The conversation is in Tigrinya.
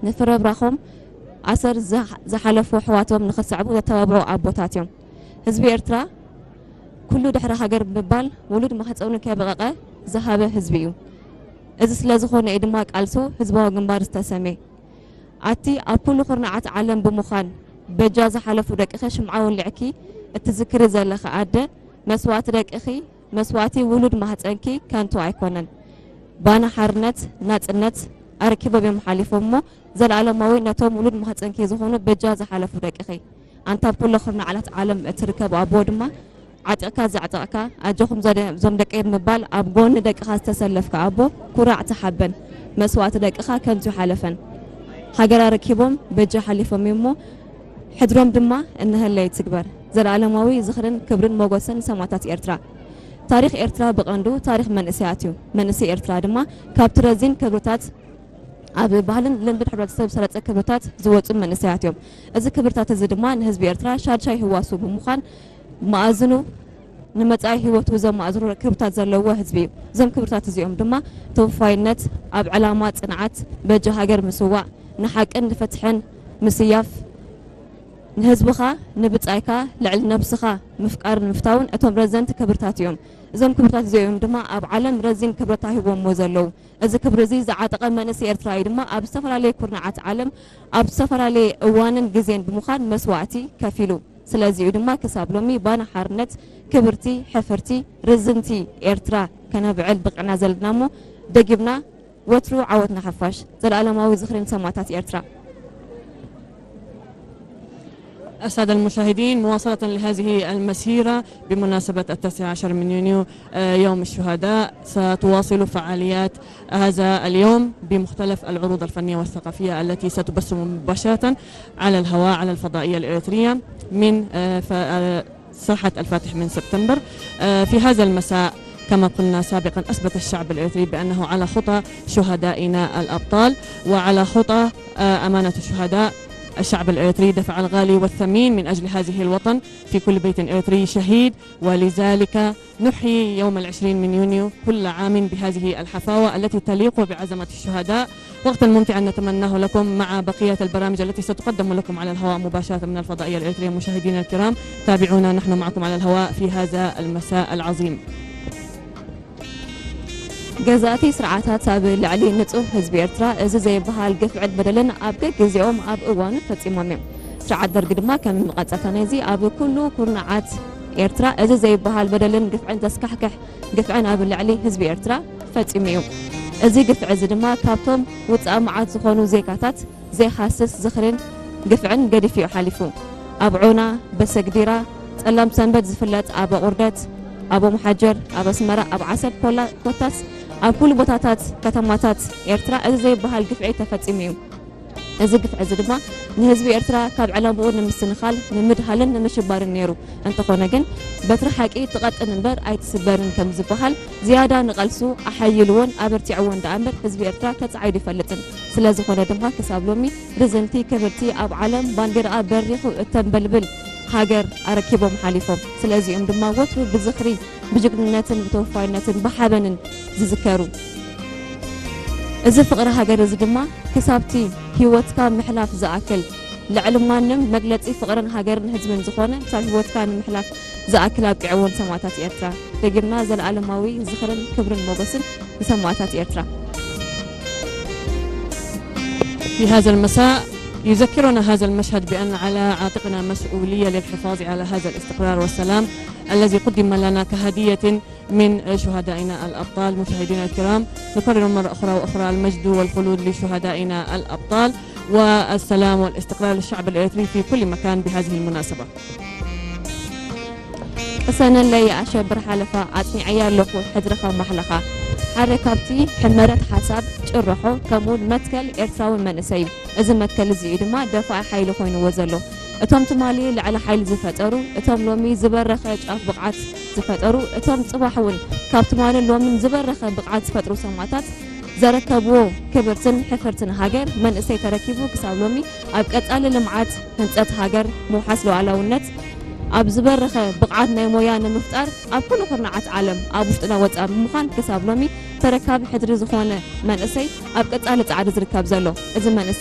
ንፍረብራኾም ኣሰር ዝሓ-፣ ዝሓለፉ ኣሕዋቶም ንኽሰዕቡ ዘተባብዑ ኣቦታት እዮም። ህዝቢ ኤርትራ ኩሉ ድሕሪ ሃገር ብምባል ውሉድ ማህፀኑ ከየበቐቐ ዝሃበ ህዝቢ እዩ። እዚ ስለ ዝኾነ እዩ ድማ ቃልሱ ህዝባዊ ግንባር ዝተሰምየ። ኣቲ ኣብ ኩሉ ኩርናዓት ዓለም ብምዃን በጃ ዝሓለፉ ደቅኺ ሽምዓ ወሊዕኪ እትዝክሪ ዘለኺ ኣደ፣ መስዋእቲ ደቅኺ፣ መስዋእቲ ውሉድ ማህፀንኪ ከንቱ ኣይኮነን። ባና ሓርነት፣ ናፅነት ኣረኪቦም እዮም ሓሊፎም እሞ ዘለኣለማዊ ነቶም ውሉድ ማህፀንኪ ዝኾኑ በጃ ዝሓለፉ ደቅኺ። ኣንታ ኣብ ኩሎ ኩርናዓት ዓለም እትርከብ ኣቦ ድማ ዓጢቕካ ዘዕጠቕካ፣ ኣጆኹም ዘደ-፣ እዞም ደቀይ ብምባል ኣብ ጎኒ ደቅኻ ዝተሰለፍካ ኣቦ፣ ኩራዕ ተሓበን። መስዋእቲ ደቅኻ ከንቱ ሓለፈን። ሃገር ኣረኪቦም በጃ ሓሊፎም እዮም እሞ፣ ሕድሮም ድማ እንሀለ ይትግበር። ዘለኣለማዊ ዝኽርን ክብርን ሞገስን ንሰማእታት ኤርትራ። ታሪኽ ኤርትራ ብቐንዱ ታሪኽ መንእሰያት እዩ። መንእሰይ ኤርትራ ድማ ካብቲ ረዚን ክብርታት ኣብ ባህልን ልምድን ሕብረተሰብ ዝሰረጸ ክብርታት ዝወጹ መንእሰያት እዮም። እዚ ክብርታት እዚ ድማ ንህዝቢ ኤርትራ ሻድሻይ ህዋሱ ብምዃን መኣዝኑ ንመጻኢ ህይወቱ ዘማእዝኑ ክብርታት ዘለዎ ህዝቢ እዩ። እዞም ክብርታት እዚኦም ድማ ተወፋይነት፣ ኣብ ዕላማ ጽንዓት፣ በጃ ሃገር ምስዋእ፣ ንሓቅን ንፍትሕን ምስያፍ፣ ንህዝብኻ ንብጻይካ ልዕሊ ነብስኻ ምፍቃርን ምፍታውን እቶም ረዘንቲ ክብርታት እዮም። እዞም ክብርታት እዚኦም ድማ ኣብ ዓለም ረዚን ክብረት ተዋሂቦምዎ ዘለዉ። እዚ ክብሪ እዚ ዝዓጠቐ መንእሰይ ኤርትራዊ ድማ ኣብ ዝተፈላለዩ ኩርናዓት ዓለም ኣብ ዝተፈላለየ እዋንን ግዜን ብምዃን መስዋእቲ ከፊሉ። ስለዚ'ዩ ድማ ክሳብ ሎሚ ባና ሓርነት ክብርቲ፣ ሕፍርቲ፣ ርዝንቲ ኤርትራ ከነብዕል በቒዕና ዘለና እሞ፣ ደጊምና ወትሩ ዓወት ንሓፋሽ። ዘለኣለማዊ ዝኽሪ ንሰማእታት ኤርትራ። السادة المشاهدين، مواصلة لهذه المسيرة بمناسبة التاسع عشر من يونيو، آه، يوم الشهداء، ستواصل فعاليات هذا اليوم بمختلف العروض الفنية والثقافية التي ستبث مباشرة على الهواء على الفضائية الإريترية من، آه، ف-، آه، ساحة الفاتح من سبتمبر. آه، في هذا المساء، كما قلنا سابقا، أثبت الشعب الإريتري بأنه على خطى شهدائنا الأبطال وعلى خطى، آه، أمانة الشهداء. الشعب الإريتري دفع الغالي والثمين من أجل هذه الوطن. في كل بيت إريتري شهيد، ولذلك نحيي يوم العشرين من يونيو كل عام بهذه الحفاوة التي تليق بعظمة الشهداء. وقتا ممتعا نتمناه لكم مع بقية البرامج التي ستقدم لكم على الهواء مباشرة من الفضائية الإريترية. مشاهدينا الكرام، تابعونا، نحن معكم على الهواء في هذا المساء العظيم. ገዛእቲ ስርዓታት ኣብ ልዕሊ ንጹህ ህዝቢ ኤርትራ እዚ ዘይበሃል ግፍዕን በደልን ኣብ ገግዜኦም ኣብ እዋኑ ፈጺሞም እዮም። ስርዓት ደርግ ድማ ከም መቐጸልታ ናይዚ ኣብ ኩሉ ኩርናዓት ኤርትራ እዚ ዘይበሃል በደልን ግፍዕን ዘስካሕክሕ ግፍዕን ኣብ ልዕሊ ህዝቢ ኤርትራ ፈጺሙ እዩ። እዚ ግፍዒ እዚ ድማ ካብቶም ውጽኣ መዓት ዝኾኑ ዜጋታት ዘይሃስስ ዝኽርን ግፍዕን ገዲፉ እዩ ሓሊፉ። ኣብ ዖና፣ በሰግዲራ፣ ጸላም ሰንበት ዝፍለጥ ኣብ ኣቑርደት፣ ኣብ ኦምሓጀር፣ ኣብ ኣስመራ፣ ኣብ ዓሰብ ኮላ-፣ ኮታስ ኣብ ኩሉ ቦታታት ከተማታት ኤርትራ እዚ ዘይበሃል ግፍዒ ተፈጺሙ እዩ። እዚ ግፍዒ እዚ ድማ ንህዝቢ ኤርትራ ካብ ዕላምኡ ንምስንኻል ንምድሃልን ንምሽባርን ነይሩ። እንተኾነ ግን በትሪ ሓቂ ትቐጥን እምበር ኣይትስበርን ከም ዝበሃል ዝያዳ ንቐልሱ ኣሓይልዎን ኣበርቲዕዎን ደኣ እምበር ህዝቢ ኤርትራ ተጻዒዱ ይፈልጥን። ስለ ዝኾነ ድማ ክሳብ ሎሚ ርዝንቲ ክብርቲ ኣብ ዓለም ባንዴራኣ በሪኹ እተንበልብል ሃገር ኣረኪቦም ሓሊፎም። ስለዚኦም ድማ ወትሩ ብዝኽሪ ብጅግንነትን ብተወፋይነትን ብሓበንን ዝዝከሩ። እዚ ፍቕሪ ሃገር እዚ ድማ ክሳብቲ ህይወትካ ምሕላፍ ዝኣክል ልዕሊ ማንም መግለጺ ፍቕርን ሃገርን ህዝብን ዝኾነ ክሳብ ህይወትካ ንምሕላፍ ዝኣክል ኣብቂዕዎን ሰማእታት ኤርትራ። ደጊምና ዘለኣለማዊ ዝኽርን ክብርን ሞገስን ንሰማእታት ኤርትራ። في هذا المساء يذكرنا هذا المشهد بأن على عاتقنا مسؤولية للحفاظ على هذا الاستقرار والسلام الذي قدم لنا كهدية من شهدائنا الأبطال. مشاهدينا الكرام، نكرر مرة أخرى وأخرى المجد والخلود لشهدائنا الأبطال والسلام والاستقرار للشعب الإريتري في كل مكان بهذه المناسبة. ቅሰነለይ ኣሸብር ሓለፋ ኣጽኒዐያ ኣለኹ ሕድርኻ ማሕለኻ። ሓደ ካብቲ ሕመረት ሓሳብ ጭርሖ ከምኡውን መትከል ኤርትራዊ መንእሰይ እዩ። እዚ መትከል እዚ እዩ ድማ ደፋኢ ሓይሊ ኮይንዎ ዘሎ። እቶም ትማሊ ልዕሊ ሓይሊ ዝፈጠሩ፣ እቶም ሎሚ ዝበረኸ ጫፍ ብቕዓት ዝፈጠሩ፣ እቶም ጽባሕ እውን ካብ ትማልን ሎምን ዝበረኸ ብቕዓት ዝፈጥሩ ሰማእታት ዘረከብዎ ክብርትን ሕፍርትን ሃገር መንእሰይ ተረኪቡ ክሳብ ሎሚ ኣብ ቀጻሊ ልምዓት፣ ህንጸት ሃገር፣ ምውሓስ ሉዓላውነት፣ ኣብ ዝበረኸ ብቕዓት ናይ ሞያ ንምፍጣር ኣብ ኩሉ ኩርናዓት ዓለም ኣብ ውሽጥና ወጻእ ብምዃን ክሳብ ሎሚ ተረካቢ ሕድሪ ዝኾነ መንእሰይ ኣብ ቀጻሊ ጻዕሪ ዝርከብ ዘሎ። እዚ መንእሰይ